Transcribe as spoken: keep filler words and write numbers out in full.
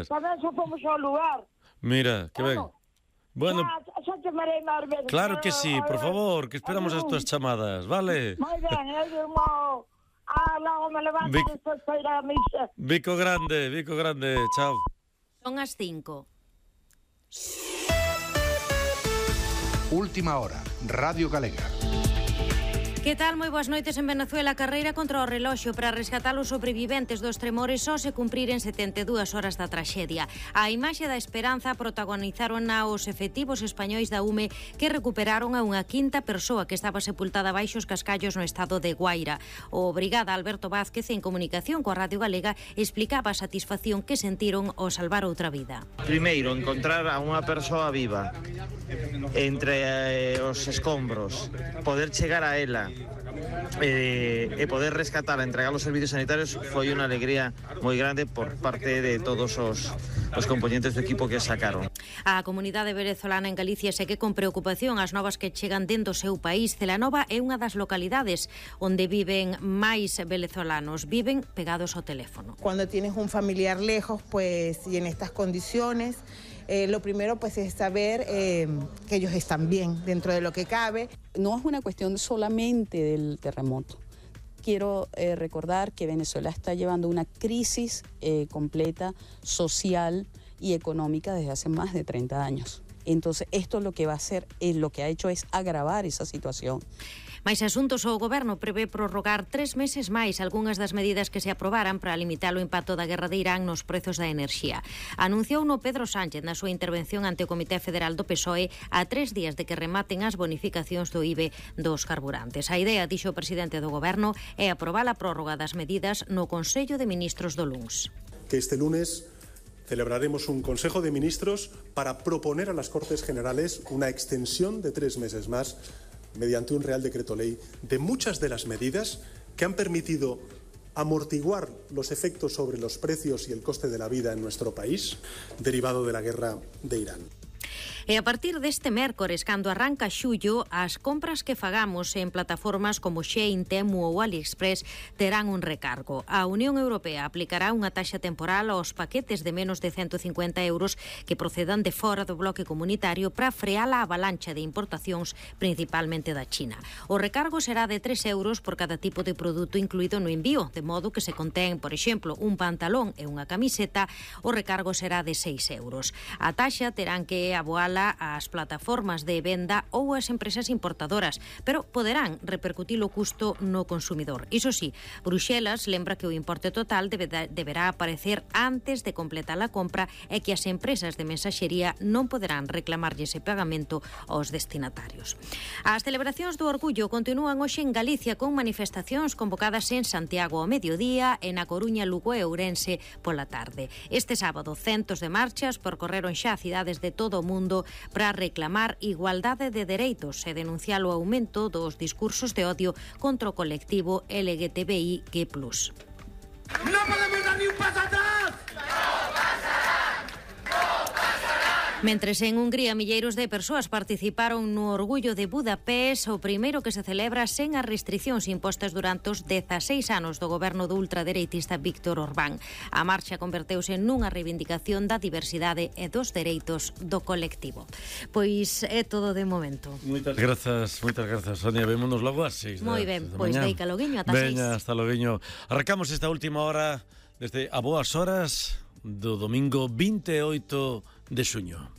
gracias. Tamén xa fomos ao lugar. Mira, que ben. Bueno, xa, xa te marei máis veces. claro que sí, por favor, que esperamos as túas chamadas, vale? Moi ben, eu irmão. Ah, logo me levanto Vic... despois para ir a misa. Vico grande, Vico grande, chao. Son as cinco. Última hora, Radio Galega. Que tal? Moi boas noites. En Venezuela, carreira contra o reloxo para rescatar os sobreviventes dos tremores só se cumpriren setenta e dúas horas da traxedia. A imaxe da esperanza protagonizaron os efectivos españois da U M E que recuperaron a unha quinta persoa que estaba sepultada baixo os cascallos no estado de Guaira. O brigada Alberto Vázquez, en comunicación coa Radio Galega, explicaba a satisfacción que sentiron ao salvar outra vida. Primeiro, encontrar a unha persoa viva entre eh, os escombros, poder chegar a ela e, e poder rescatar e entregar os servicios sanitarios foi unha alegría moi grande por parte de todos os, os componentes do equipo que sacaron. A comunidade venezolana en Galicia segue con preocupación as novas que chegan dentro do seu país. Celanova é unha das localidades onde viven máis venezolanos, viven pegados ao teléfono. Cuando tienes un familiar lejos, pues, y en estas condiciones, Eh, lo primero pues es saber eh, que ellos están bien dentro de lo que cabe. No es una cuestión solamente del terremoto. Quiero eh, recordar que Venezuela está llevando una crisis eh, completa, social y económica desde hace más de treinta años. Entonces esto lo que va a hacer, eh, lo que ha hecho es agravar esa situación. Mais asuntos, o Goberno prevé prorrogar tres meses máis algunhas das medidas que se aprobaran para limitar o impacto da guerra de Irán nos prezos da enerxía. Anunciou no Pedro Sánchez na súa intervención ante o Comité Federal do P S O E a tres días de que rematen as bonificacións do I B E dos carburantes. A idea, dixo o presidente do Goberno, é aprobar a prórroga das medidas no Consello de Ministros do luns. Que este lunes celebraremos un Consejo de Ministros para proponer a las Cortes Generales una extensión de tres meses más mediante un Real Decreto Ley de muchas de las medidas que han permitido amortiguar los efectos sobre los precios y el coste de la vida en nuestro país derivado de la guerra de Irán. E a partir deste mércores, cando arranca xullo, as compras que fagamos en plataformas como Shein, Temu ou AliExpress terán un recargo. A Unión Europea aplicará unha taxa temporal aos paquetes de menos de ciento cincuenta euros que procedan de fora do bloque comunitario para frear a avalancha de importacións, principalmente da China. O recargo será de tres euros por cada tipo de produto incluído no envío, de modo que se contén, por exemplo, un pantalón e unha camiseta, o recargo será de seis euros. A taxa terán que aboala ás plataformas de venda ou ás empresas importadoras, pero poderán repercutir o custo no consumidor. Iso sí, Bruxelas lembra que o importe total debe, deberá aparecer antes de completar a compra e que as empresas de mensaxería non poderán reclamarlle ese pagamento aos destinatarios. As celebracións do Orgullo continúan hoxe en Galicia con manifestacións convocadas en Santiago ao mediodía e na Coruña, Lugo e Ourense pola tarde. Este sábado, centos de marchas percorreron xa cidades de todo o mundo para reclamar igualdade de dereitos e denunciar o aumento dos discursos de odio contra o colectivo L G T B I Q plus. ¡No podemos dar ni un paso atrás! ¡No pasará! ¡No pasará! Mentres en Hungría milleiros de persoas participaron no Orgullo de Budapest, o primeiro que se celebra sen as restriccións impostas durante os dezaseis anos do goberno do ultradereitista Víctor Orbán. A marcha converteuse nunha reivindicación da diversidade e dos dereitos do colectivo. Pois é todo de momento. Moitas grazas, moitas grazas, Sonia. Vémonos logo ás seis. Moi ben, pois deica loguiño ata seis. Veña, hasta loguiño. Arrancamos esta última hora desde a boas horas do domingo vinte e oito de xuño.